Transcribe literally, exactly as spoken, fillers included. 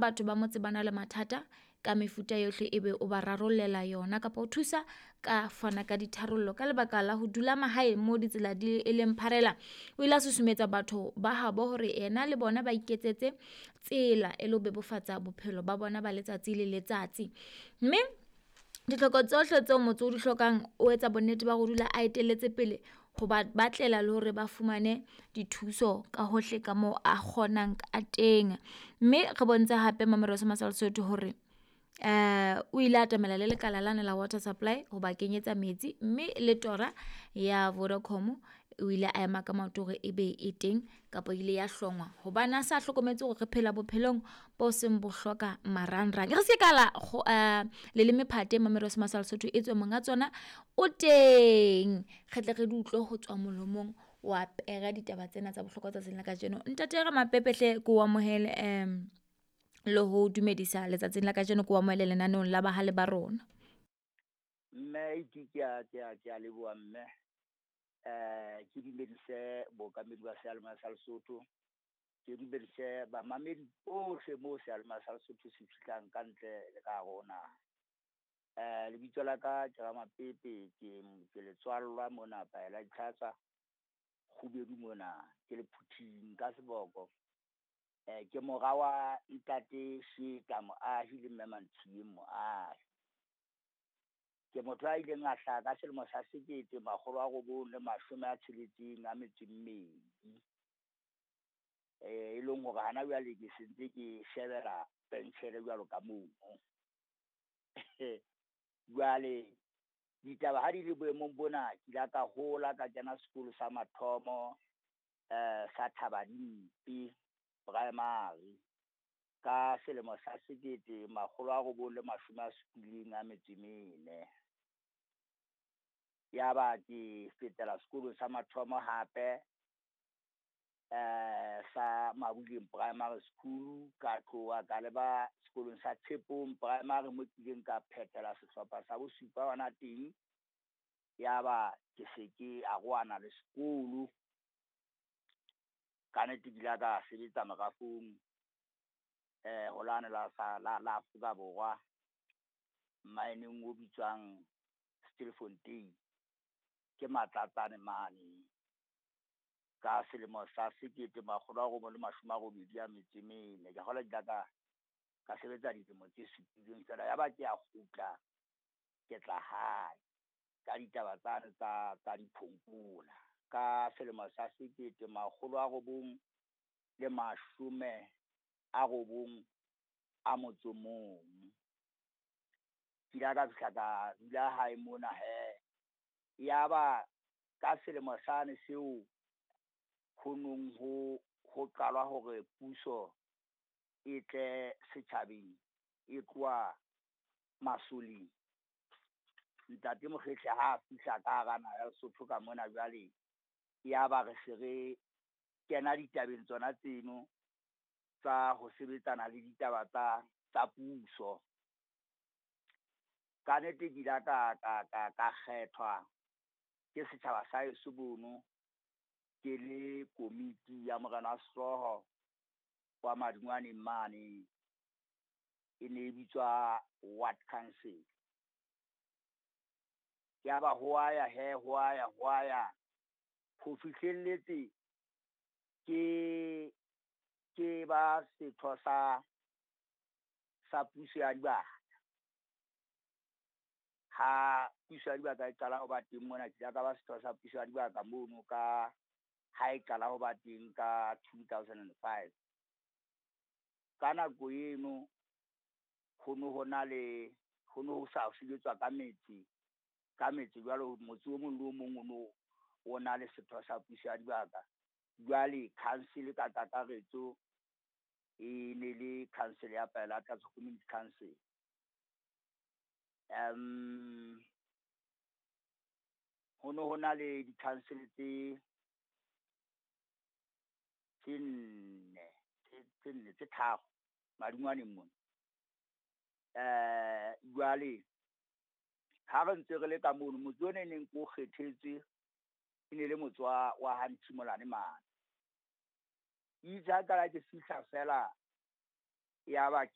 batho ba motse ba na le mathata ka mefuta yohle, ebe o ba rarollela yona kapa o thusa ka fana ka ditharollo. Ka lebaka la ho dula mahaeng mo ditsela di e leng pharela, o ile a susumetsa batho ba habo hore yena le bona ba iketsetse tsela e le ho bebofatsa bophelo ba bona ba letsatsi le letsatsi. Mme ditlhoko tsohle tseo motse o di hlokang, o etsa bonnete ba ho dula a etelletse pele ho ba batlela le hore ba fumane dithuso ka hohle ka moo a kgonang ka teng. Mme re bontshe hape Mamelodi sa Lesotho hore eh o ile atamela le lekala lane la water supply ho ba kenyetsa metsi, mme le tora ya Vodacom o ile a ema ka maoto hore ebe e teng kapa ile ya hlongwa hobane a sa hlokometse hore re phela bophelong bo seng bo hloka marangrang. Re se ka la uh, leleme phate Mamelodi sa Lesotho e tswe monga tsona o teng, re tle re di utlwe ho tswa molomong wa pera ditaba tsena tsa bohlokwa tsatsing la kajeno. Ntate Ramapepehle, ke o amohele um le ho dumedisa letsatsing la kajeno, ke o amohele lenaneong la bahale ba rona. Mme ke ke a ke a ke a leboha mme. Eh ke dumedise bookamedi ba seyalemoya sa Lesotho. Ke dumedise bamamedi bohle moo seyalemoya sa Lesotho se fihlang ka ntle le ka hare ho naha. Eh lebitso la ka ke Ramapepe, ke ke letswallwa mona Paela Ditlhatsa, Kgubedu mona, ke le Phuthing ka seboko. Eh ke mora wa ntate Sheta Moahi le mme Mantshiyeng Moahi. Ke motho a ileng a hlaha ka selemo sa sekete makgolo a robong le mashome a tsheletseng a metso e mmedi. Eh e leng hore hana jwale ke sentse ke shebela penshele jwalo ka mono. Jwale ditaba ha di le boemong bona, ke ile ka hola ka kena sekolo sa mathomo eh sa Thabadimpe Primary ka selemo sa sekete makgolo a robong le mashome a supileng a metso e mene. Yaba ke fetela sekolong sa mathomo hape eh sa Mabuleng Primary School, ka tloha ka leba sekolong sa Tshepong Primary mo kileng ka phethela sehlopha sa bosupa hona teng. Yaba ke se ke arohana le sekolo. Ka nnete ke ile ka sebetsa merafong eh ho lane la sa la la Afrika Borwa mmaeneng o bitswang Stilfontein, ke Matlatsane mane ka selemo sa sekete makgolo a robong le mashome a robedi a metso e mene. Ke kgolwa ke ile ka ka sebetsa dilemo tse supileng feela, yaba ke a kgutla ke tla hae ka ditaba tsane tsa tsa diphonkola ka selemo sa sekete makgolo a robong le mashome a robong a motso mong. Ke ile ka fihla ka dula hae mona hee. Yaba ka selemo sane seo ho nong ho ho qalwa hore puso e tle setjhabeng e tloha masoleng. Ntate Mokgehli ha a fihla ka hara naha ya Lesotho ka mona jwale, yaba re se re kena ditabeng tsona tseno tsa ho sebetsana le ditaba tsa tsa puso. Ka nnete ke ile ka ka ka ka kgethwa ke setjhaba sa heso mono, ke le komiti ya morena wa sehlooho wa Madingwaneng mane. E ne e bitswa ward council. Yaba ho a ya he, ho a ya, ho a ya ho fihlelletse ke ke ba setho sa sa puso ya dibaka. Ha puso ya dibaka e qala ho ba teng mona, ke ile ka ba setho sa puso ya dibaka mono ka ha e qala ho ba teng ka two thousand and five. Ka nako eno ho no ho na le ho no ho sa sebetswa ka metse ka metse jwalo, motse o mong le o mong o no o na le setho sa puso ya dibaka. Jwale council ka kakaretso e ne le council ya Pelata Community Council. Um ho no ho na le di-council tse tse nne tse nne tse tharo Madingwaneng mona. Eh jwale ha re ntse re le ka mono, motse ona e neng ko kgethetswe e ne le motse wa wa ha Ntshimolane mane. Itse ha qala ke fihla feela, yaba